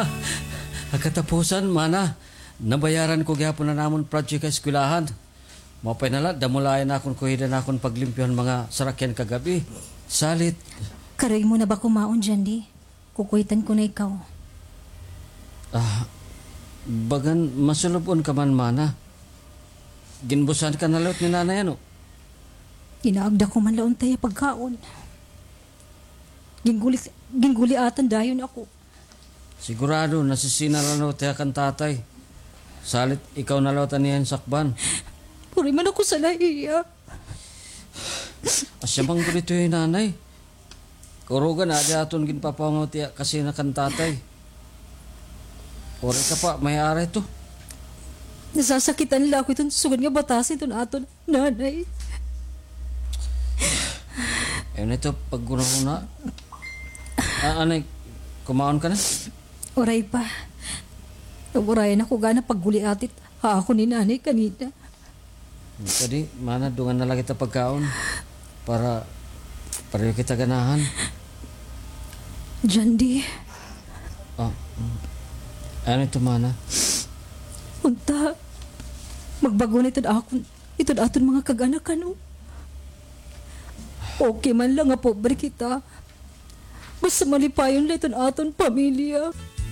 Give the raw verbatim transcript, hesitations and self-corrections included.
Ha katapusan, mana, nabayaran ko gihapon an amon project ha eskwelahan. Maupay na la, damo la ini akon kuhida han akon paglimpyo han mga sarakyan kagab-i. Salit. Karoy mo na ba kumaon, Jandy? Kukuhitan ko na ikaw. Ah, bagan masulub-on ka man, mana. Ginbusan ka na liwat ni nanay, ano? Inaagda ko man la unta hiya pagkaon. Ginguli-, ginguliatan dayon ako. Sigurado, nasisina la liwat hiya kan tatay. Salit, ikaw na liwat an iyang sakban. Puri man ako sala ha iya. Asya man gud ito hi nanay. Kurugan, adi aton ginpapaungaw it iya kasina kan tatay. Waray ka pa, may-ari ito. Nasasakitan la ako iton sugad nga batasan iton aton nanay. Ayaw na ito paghunahuna. Ah, anay, kumaon ka na? Waray pa. Nawarayan ako gana pagguliat ha akon ni nanay kanina. Kadi, mana, dungan na la kita pagkaon para pareho kita ganahan. Jandy. Ah, mm. Ano ito, mana? Unta, magbago na iton akon, iton aton mga kag-anak, ano? Okay man la nga pobre kita. Basta malipayon la iton aton pamilya.